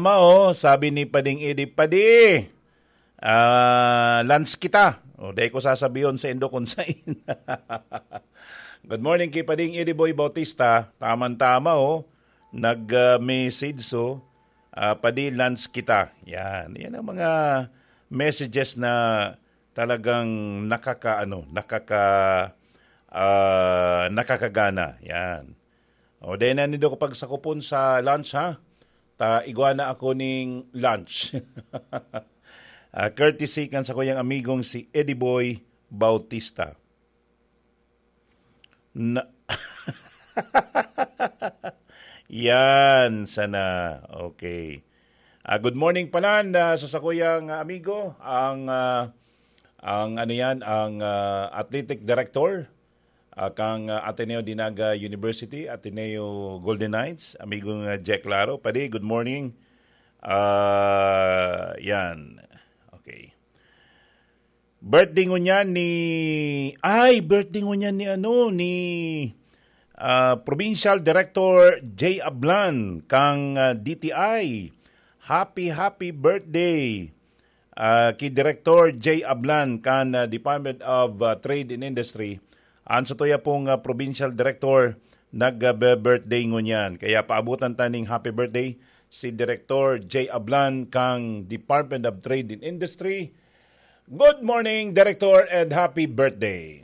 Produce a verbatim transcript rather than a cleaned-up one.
Mao, sabi ni Pading Edi, "Padi, ah, lunch kita." O, dai ko sasabihon sa indo kung sain. Good morning kay Pading Edi Boy Bautista. Taman-tama, oh. Nag, ah, message, so, ah, "Padi, lunch kita." Yan. Yan ang mga messages na talagang nakaka-, ano, nakaka-, ah, nakakagana. Yan. O, dai na nindo ko pagsakupon sa lunch, ha? Ta igwa na ako ning lunch. Ah, courtesy kan sakuyang amigong si Eddie Boy Bautista. Na- Yan, sana. Okay. Ah, good morning pala na sa sakuyang amigo, ang, ah, ang ano yan, ang, ah, athletic director, ah, kang, ah, Ateneo de Naga University, Ateneo Golden Knights, amigong, ah, Jack Laro. Padi, good morning. Ah, yan. Okay. Birthday ngunyan ni, ay, birthday ngunyan ni ano, ni, ah, Provincial Director Jay Ablan kang, ah, D T I. Happy, happy birthday, ah, ki Director Jay Ablan kan, ah, Department of, ah, Trade and Industry. An satuya pong, ah, Provincial Director nag, ah, be-, birthday ngunyan. Kaya paabutan ta ning happy birthday si Director Jay Ablan kang Department of Trade and Industry. Good morning, Director, and happy birthday.